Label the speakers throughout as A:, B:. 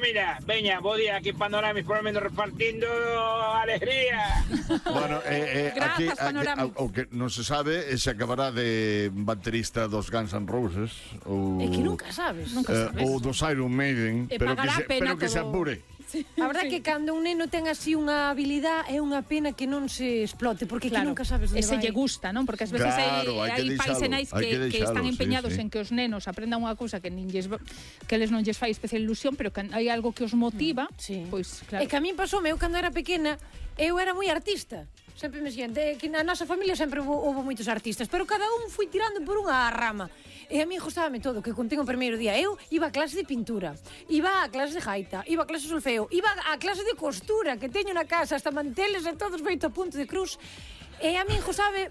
A: mira, veña, bo día aquí Panoramis por lo menos repartindo alegría.
B: Bueno, aquí, o que non se sabe se acabará de baterista dos Guns N' Roses ou
C: É que nunca sabes.
B: ou dos Iron Maiden, pero que se apure.
C: A verdade é que cando un neno ten así unha habilidade é unha pena que non se explote, porque que nunca sabes onde vai.
D: Ese lle gusta, non? Porque ás veces hai pais e nais que están empeñados en que os nenos aprendan unha cousa que eles non lles fai especial ilusión, pero que hai algo que os motiva, pois claro.
C: É que a min pasoume, eu cando era pequena, eu era moi artista. Sempre me xente, que na nosa familia sempre houve moitos artistas, pero cada un foi tirando por unha rama. E a mí gustábame todo, que contín o primeiro día. Eu iba a clase de pintura, iba a clase de gaita, iba a clase de solfeo, iba a clase de costura, que teño na casa, hasta manteles e todos feito a punto de cruz. E a mí gustaba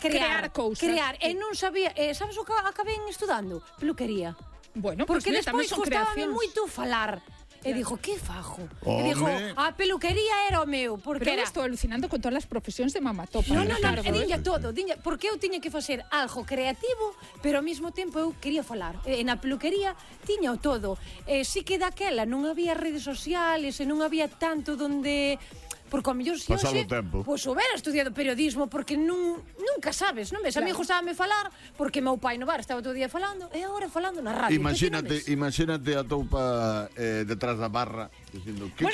C: crear cousas. E non sabía, sabes o que acabei estudando? Peluquería.
D: Bueno,
C: porque despois gustábame moito falar. E dixo, que fajo? E dixo, a peluquería era o meu.
D: Pero era... estou alucinando con todas as profesións de Mamatopa.
C: Non, e diña todo. Porque eu tiña que facer algo creativo, pero ao mesmo tempo eu quería falar. E na peluquería tiña o todo. Si que daquela non había redes sociales e non había tanto donde... Porque ao mellor se hoxe, pois houbera estudiado periodismo, porque nunca sabes, non ves? A mí gustábame falar, porque meu pai no bar estaba todo o día falando, e agora falando na radio.
B: Imagínate a toupa detrás da barra dicindo, que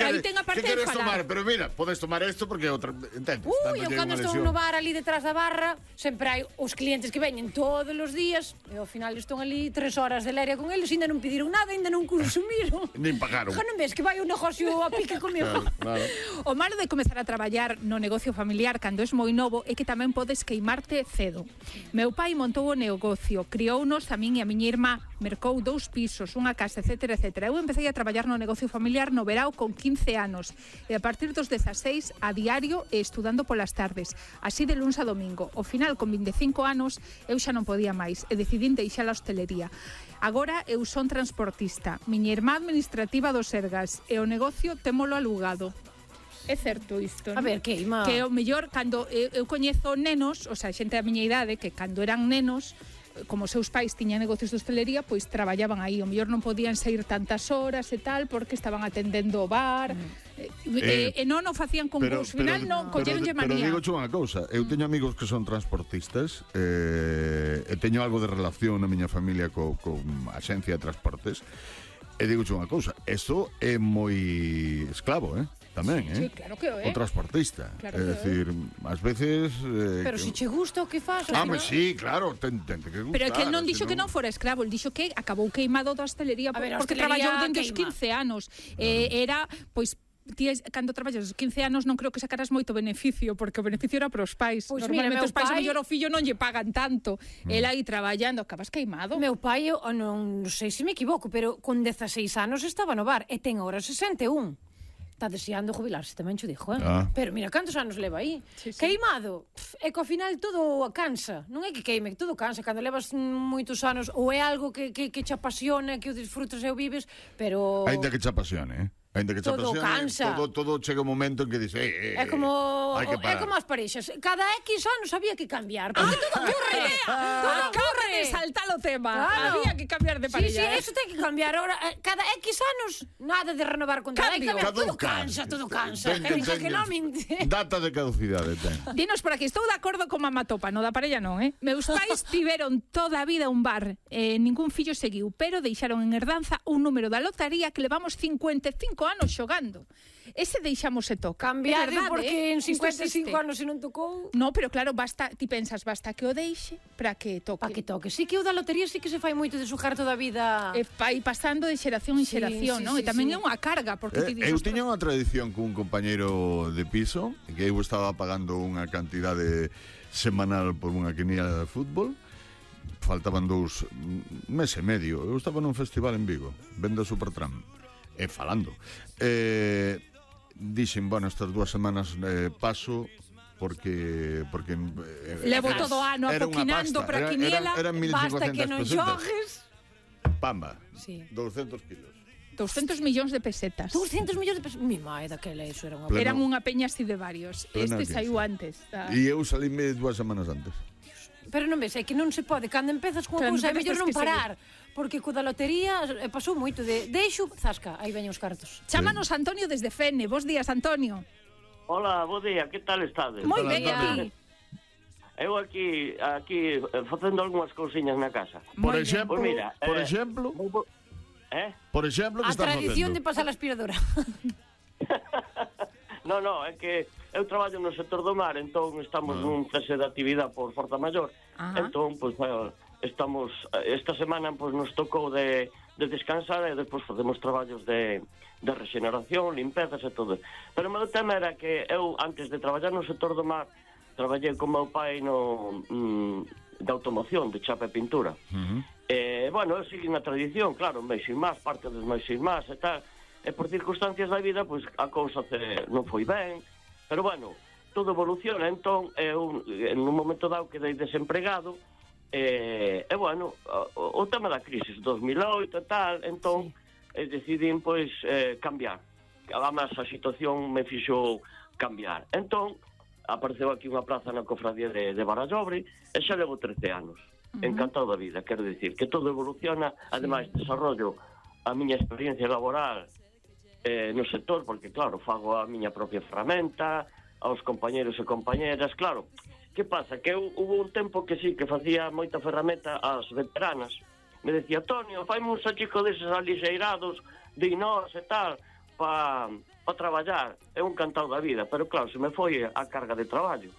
B: queres tomar? Pero mira, podes tomar isto porque outra, entendes?
C: Eu cando estou no bar ali detrás da barra, sempre hai os clientes que veñen todos os días, e ao final están ali 3 horas de leria con eles, ainda non pediron nada, ainda non consumiron.
B: Nin pagaron.
C: Non ves que vai un negocio a pique comigo.
D: O malo de comezar a traballar no negocio familiar cando es moi novo é que tamén podes queimarte cedo. Meu pai montou o negocio, criounos a min e a miña irmá, mercou 2 pisos, unha casa, etcétera, etcétera. Eu empecé a traballar no negocio familiar no verao con 15 anos e a partir dos 16 a diario e estudando polas tardes, así de luns a domingo. Ao final, con 25 anos, eu xa non podía máis e decidín deixar a hostelería. Agora eu son transportista, miña irmá administrativa do Sergas e o negocio témolo alugado. É certo isto, non?
C: A ver, queima.
D: Que o mellor, cando eu coñezo nenos, o sea, xente da miña idade, que cando eran nenos, como os seus pais tiñan negocios de hostelería, pois traballaban aí. O mellor non podían sair tantas horas e tal, porque estaban atendendo o bar. E non o facían con vos. Final non, colleronlle manía.
B: Pero digo unha cousa, eu teño amigos que son transportistas e teño algo de relación na miña familia con axencia de transportes. E digo unha cousa, isto é moi esclavo, tamén,
D: sí, claro que é.
B: O transportista. Claro é dicir, ás veces...
C: pero se che gusta o que faz...
B: sí, claro, ten que gustar.
D: Pero é que el non dixo que non fora escravo, el dixo que acabou queimado da hostelería porque traballou dende os 15 anos. Era, pois, cando traballas os 15 anos non creo que sacaras moito beneficio, porque o beneficio era para os pais.
C: Pois
D: normalmente os pais, a mellor o fillo non lle pagan tanto. El aí traballando, acabas queimado.
C: Meu pai, non sei se me equivoco, pero con 16 anos estaba no bar e ten agora 61. Está deseando jubilarse, tamén xo dixo, Pero mira, cantos anos leva aí? Sí. Queimado. É que ao final todo cansa. Non é que queime, todo cansa. Cando levas moitos anos, ou é algo que te apasiona, que o disfrutas e o vives, pero...
B: Ainda que te apasione, Ainda que te apasione, todo chega un momento en que dices,
C: é como as parexas. Cada X anos había que cambiar. Porque todo ocurre. Todo ocurre.
D: Salta o tema. Había que cambiar de pareja.
C: Sí, eso ten que cambiar. Ahora, cada X anos, nada de renovar con todo. Todo cansa.
B: Data de caducidade ten.
D: Dinos por aquí, estou de acordo con Mamatopa, no da parella non, Meus pais tiveron toda a vida un bar, ningún fillo seguiu, pero deixaron en herdanza un número da lotaría que levamos 55 anos xogando. Ese deixamos e toca.
C: Cambiar porque en 55 anos se non tocou.
D: No, pero claro, basta, ti pensas, basta que o deixe para que toque.
C: Para que toque. Sí que o da lotería sí que se fai moito de xogar toda a vida.
D: E vai pasando de xeración en xeración, non? E tamén é unha carga, porque ti
B: eu tiña unha tradición cun compañeiro de piso, que eu estaba pagando unha cantidade semanal por unha quiniela de fútbol. Faltaban 2 meses e medio. Eu estaba nun festival en Vigo, vendo Supertram. Falando dixen, bueno, estas 2 semanas paso porque
D: levo todo o ano apoquinando para quiniela,
C: basta que non xogues.
B: Pamba, 200 kilos,
D: 200 millóns de pesetas.
C: 200 millóns de pesetas. Mi mae, daquela eso era unha...
D: Eran unha peña así de varios. Este saiu antes.
B: E eu salíme 2 semanas antes.
C: Pero non ves, é que non se pode, cando empezas cunha cousa é mellor non parar, porque co da lotería pasou moito de deixo, zasca, aí veñen os cartos.
D: Chámanos Antonio desde Fene. Bos días, Antonio.
E: Hola, bo día, que tal estades?
D: Moi ben,
C: día.
D: aquí.
E: Eu aquí facendo algunhas cousiñas na casa.
B: Por
D: Moi ben.
B: exemplo,
E: Pois mira,
B: por exemplo, por exemplo, que
C: A
B: estás
C: tradición de
B: facendo?
C: pasar a aspiradora.
E: No, é que eu traballo no sector do mar, entón estamos nun cese de actividade por Forza Maior.
D: Ajá.
E: Entón, pois, estamos, esta semana pois, nos tocou de descansar e despois facemos traballos de regeneración, limpezas e todo. Pero o meu tema era que eu, antes de traballar no sector do mar, traballei con meu pai de automoción, de chapa e pintura. Bueno, eu segui na tradición, claro, máis sin máis, parte dos máis sin máis e tal. E por circunstancias da vida, pois a cousa non foi ben, pero bueno, todo evoluciona, entón eu en un momento dado quedei desempregado e bueno, o tema da crisis 2008 e tal, entón decidín pois cambiar. Además a situación me fixo cambiar. Entón apareceu aquí unha plaza na cofradía de Barallobre e xa levo 13 anos. Encantado da vida, quero dicir que todo evoluciona, ademais desarrollo a miña experiencia laboral no sector, porque claro, fago a miña propia ferramenta, aos compañeros e compañeras, claro. Que pasa? Que hubo un tempo que sí, que facía moita ferramenta ás veteranas. Me decía, Antonio, faime un sachico deses alixeirados de inós e tal, para traballar. É un encantado da vida, pero claro, se me foi a carga de traballo.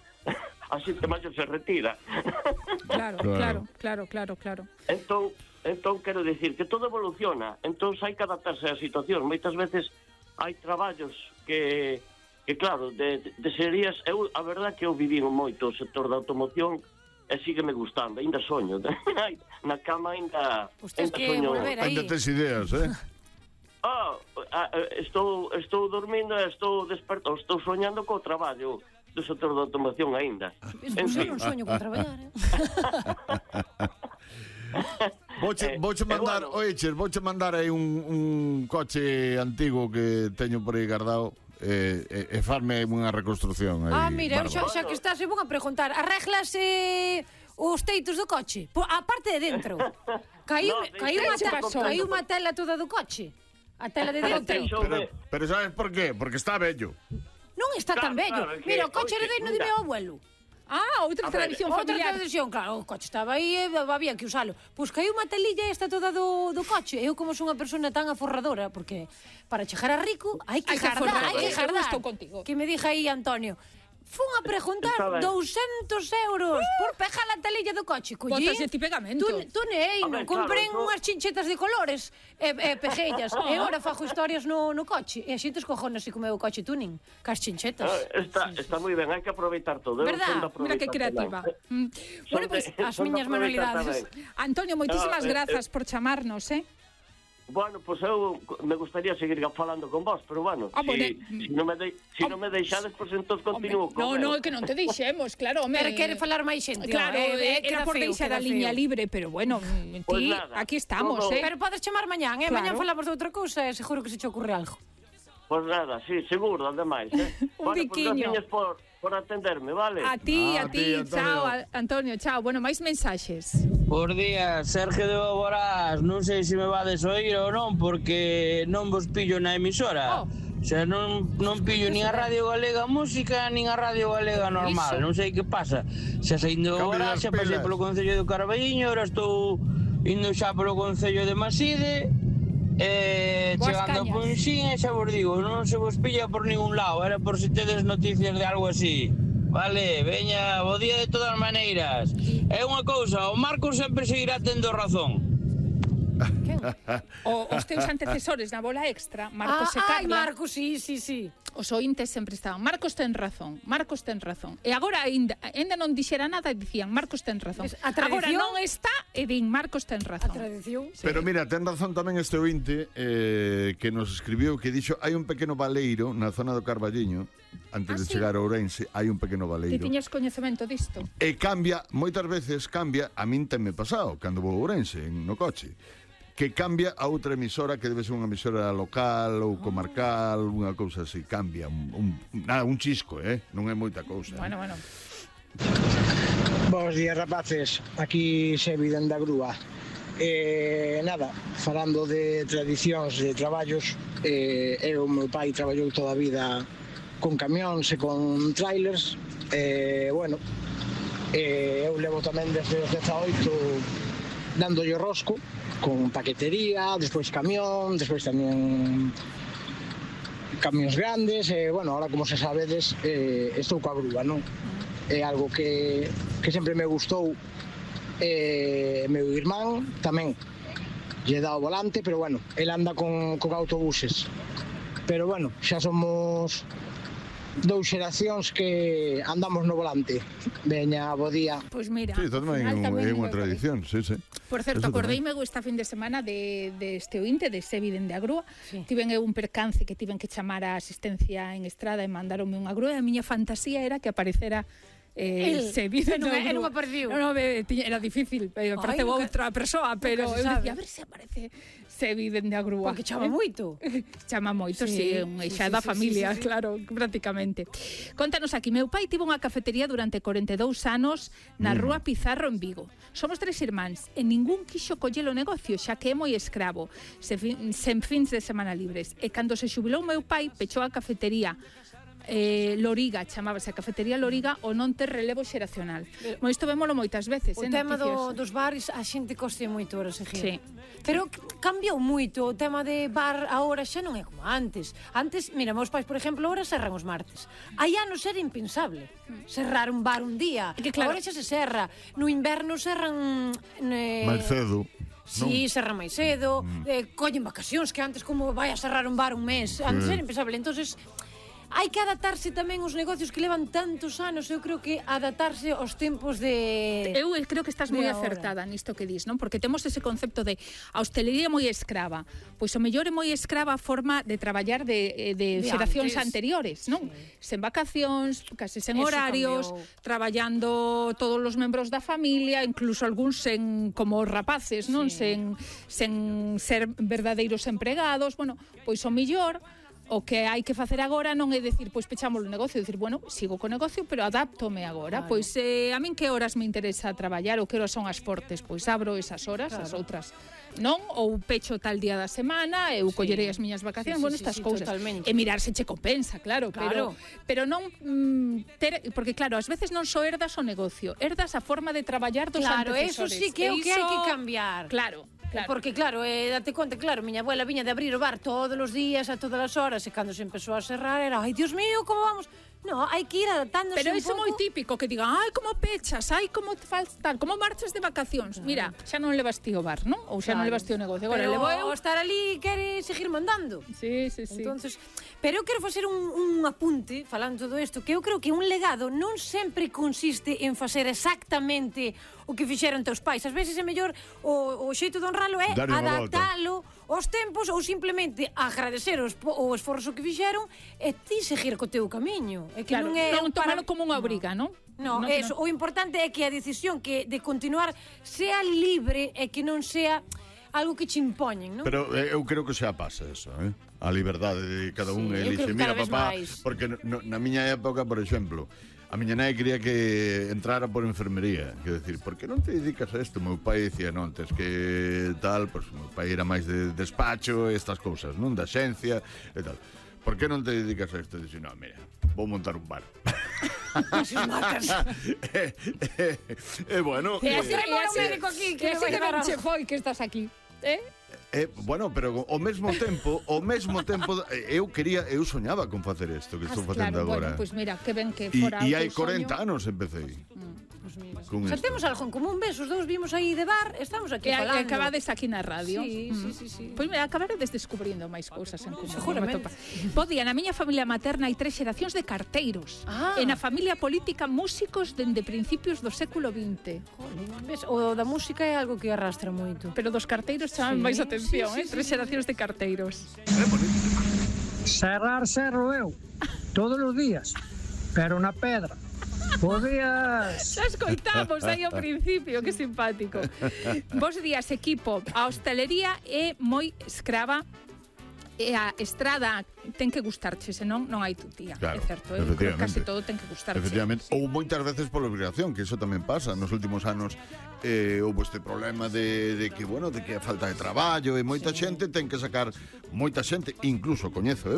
E: Así que máis se retira.
D: Claro.
E: Entón, quero dicir que todo evoluciona, entón hai que adaptarse á situación. Moitas veces hai traballos que claro, de serías... a verdade que eu viví moito o sector da automoción e sígueme gustando, ainda soño. Na cama ainda soño.
B: Ainda tes ideas,
E: Estou dormindo e estou desperto, estou soñando co traballo do sector da automoción ainda.
C: Eu non soño con traballar,
B: Vouche mandar, vouche mandar aí un coche antigo que teño por aí guardado e farme unha reconstrucción aí.
C: Mira, eu xa que estás, eu vou a preguntar, arréglase os teitos do coche? A parte de dentro. Caiu unha tela toda do coche. A tela de dentro.
B: Pero sabes por qué? Porque está bello.
C: Non está tan bello. Mira, o coche heredeiro de meu abuelo.
D: Outra tradición familiar.
C: Outra tradición, claro, o coche estaba aí e había que usalo. Pois caiu unha telilla esta toda do coche. Eu como son unha persona tan aforradora, porque para chegar a rico hai que jardar.
D: Estou contigo.
C: Que me dixa aí Antonio, fun a preguntar 200 euros por pegar a telilla do coche.
D: Botaslle ti pegamento.
C: Tunei, non comprei unhas chinchetas de colores e peguellas. E agora fago historias no coche. E a xente escojona así como é o coche tuning, cas chinchetas.
E: Está moi ben, hai que aproveitar todo.
D: Verdad? Mira que creativa. Bueno, pois as miñas manualidades. Antonio, moitísimas grazas por chamarnos,
E: Bueno, pois eu me gustaría seguir falando con vos, pero bueno, se non me deixades, pois entón continuo con
D: No, que non te deixemos, claro, home.
C: Pero quere falar máis xente.
D: Claro, era por deixar a liña libre, pero bueno, ti, aquí estamos,
C: Pero podes chamar mañán, Mañán falamos de outra cousa e seguro que se che ocurre algo.
E: Pois nada, sí, seguro, ademais,
D: Un biquiño.
E: Gracias por atenderme, vale?
D: A ti,
B: Antonio.
D: chao, Antonio, chao. Bueno, máis mensaxes.
F: Por día, Sergio de Boborás, non sei se me vades oír ou non, porque non vos pillo na emisora. O sea, non pillo nin a Radio Galega Música, nin a Radio Galega Normal. Non sei que pasa. Xa saindo de Boborás, xa pasei polo Concello de Carballiño, ahora estou indo xa polo Concello de Maside, chegando a Punxín, e xa vos digo, non se vos pilla por ningún lado, era por se tedes noticias de algo así. Vale, veña, bo día de todas maneiras. É unha cousa, o Marcos sempre seguirá tendo razón.
D: Os teus antecesores na bola extra, Marcos e Carla.
C: Marcos, sí.
D: Os ointes sempre estaban, Marcos ten razón. E agora ainda non dixera nada e dicían, Marcos ten razón. Agora non está e din, Marcos ten razón.
C: A tradición.
B: Pero mira, ten razón tamén este ointe que nos escribiu, que dixo, hai un pequeno baleiro na zona do Carballiño, antes de chegar a Ourense, hai un pequeno baleiro.
D: Ti tiñes coñecemento disto?
B: E cambia, moitas veces cambia, a min tenme pasado, cando vou a Ourense, no coche, que cambia a outra emisora que debe ser unha emisora local ou comarcal, unha cousa así, cambia un chisco, non é moita cousa.
D: Bueno.
G: Bos días, rapaces. Aquí Sebi dende a grúa. Nada, falando de tradicións de traballos, o meu pai traballou toda a vida con camións e con trailers. Eu levo tamén desde os 18 dándolle rosco con paquetería, despois camión, despois tamén camións grandes. Ahora, como se sabedes, estou coa grúa, non? É algo que sempre me gustou. Meu irmán tamén lle dá o volante, pero el anda con autobuses. Pero xa somos 2 xeracións que andamos no volante. Veña, bo día.
D: Pois mira,
B: sí, tamén é unha tradición, sí.
D: Por certo, acordeime esta fin de semana de este ointe, de Sebi dende a grúa. Sí. Tiven un percance que tiven que chamar a asistencia en estrada e mandaronme unha grúa, e a miña fantasía era que aparecera Sebi dende a grúa.
C: Non apareceu.
D: Era difícil, apareceu outra persoa, pero eu dicía, a ver se aparece Sebi dende a grúa.
C: Porque chama moito.
D: Chama moito, sí, xa da familia, claro, prácticamente. Contanos aquí, meu pai tivo unha cafetería durante 42 anos na Rúa Pizarro en Vigo. Somos 3 irmáns e ningún quixo coller o negocio, xa que é moi escravo, sen fins de semana libres. E cando se xubilou meu pai, pechou a cafetería Loriga, chamábase a cafetería Loriga, o non ter relevo xeracional. Isto vémolo moitas veces.
C: O tema dos bares, a xente coste moito ahora seguir.
D: Sí.
C: Pero cambiou moito o tema de bar agora, xa non é como antes. Antes, mira, meus pais, por exemplo, ahora serran os martes. Hai anos era impensable cerrar un bar un día. Agora xa se serra. No inverno serran
B: máis cedo.
C: Sí, serra máis cedo. Collen vacacións, que antes como vai a cerrar un bar un mes. Antes era impensable. Entonces hai que adaptarse tamén os negocios que levan tantos anos. Eu creo que adaptarse aos tempos de...
D: Eu creo que estás moi acertada nisto que dis, non? Porque temos ese concepto de a hostelería moi escrava. Pois o mellor é moi escrava a forma de traballar de xeracións anteriores, non? Sen vacacións, case sen horarios, traballando todos os membros da familia, incluso algúns como os rapaces, non? Sen ser verdadeiros empregados. Pois o mellor o que hai que facer agora non é dicir, pois pechamos o negocio, dicir, sigo co negocio, pero adáptome agora. Claro. Pois a min que horas me interesa traballar ou que horas son as fortes, pois abro esas horas, as outras non, ou pecho tal día da semana, eu collerei as miñas vacacións, estas cousas.
C: Totalmente.
D: E mirar se che compensa, claro. Pero non porque claro, ás veces non só herdas o negocio, herdas a forma de traballar dos antecesores.
C: Claro, eso sí que é o que hai que cambiar.
D: Claro.
C: Porque claro, date conta, miña abuela viña de abrir o bar todos os días, a todas as horas, e cando se empezou a cerrar era, ai, Dios mío, como vamos? No, hai que ir adaptándose un pouco.
D: Pero iso é moi típico, que digan, ai, como pechas, ai, como te faltan, como marchas de vacacións. Mira, xa non levas ti o bar, non? Ou xa non levas ti o negocio. Agora levo eu.
C: Estar ali quere seguir mandando.
D: Sí.
C: Entonces, pero eu quero facer un apunte, falando todo isto, que eu creo que un legado non sempre consiste en facer exactamente o que fixeron teus pais. Ás veces é mellor o xeito de honralo é adaptalo aos tempos ou simplemente agradecer o esforzo que fixeron e ti seguir co teu camiño. É que non é
D: tomalo como unha obriga, non?
C: No, eso, o importante é que a decisión de continuar sea libre e que non sea algo que che impoñen, non?
B: Pero eu creo que xa pasa eso, a liberdade de cada un elixe. Mira, papá, porque na miña época, por exemplo, a miña nai quería que entrara por enfermería. Quer decir, por que non te dedicas a isto? Meu pai dicía, non, tes que tal, pois meu pai era máis de despacho, estas cousas, non? Da xencia e tal. Por que non te dedicas a isto? Dixe, non, mira, vou montar un bar.
D: Bueno, e así que ben che foi que estás aquí,
B: bueno, pero ao mesmo tempo eu soñaba con facer isto que estou facendo agora.
D: Pois mira, que ben que fora
B: e hai 40 anos empecé.
C: Xa temos algo en común, ves, os dous vimos aí de bar, estamos aquí falando.
D: E acabades aquí na radio.
C: Sí.
D: Pois mira, acabaredes descubrindo máis cousas en común.
C: Seguramente.
D: Podía, na miña familia materna hai 3 xeracións de carteiros. E na familia política músicos dende principios do século XX.
C: Ves, o da música é algo que arrastra moito.
D: Pero dos carteiros chaman máis atención, 3 xeracións de carteiros.
H: Cerrar cerro eu, todos os días, pero na pedra. Podías...
D: Xa escoitamos aí ao principio, que simpático. Bos días, equipo. A hostelería é moi escrava E a estrada ten que gustarche, senón non hai tutía.
B: Claro,
D: É certo, eu creo que casi todo ten que gustarche.
B: Efectivamente, ou moitas veces pola obligación, que iso tamén pasa. Nos últimos anos houve este problema de que, bueno, de que a falta de traballo e moita xente ten que sacar, moita xente, incluso coñezo eu,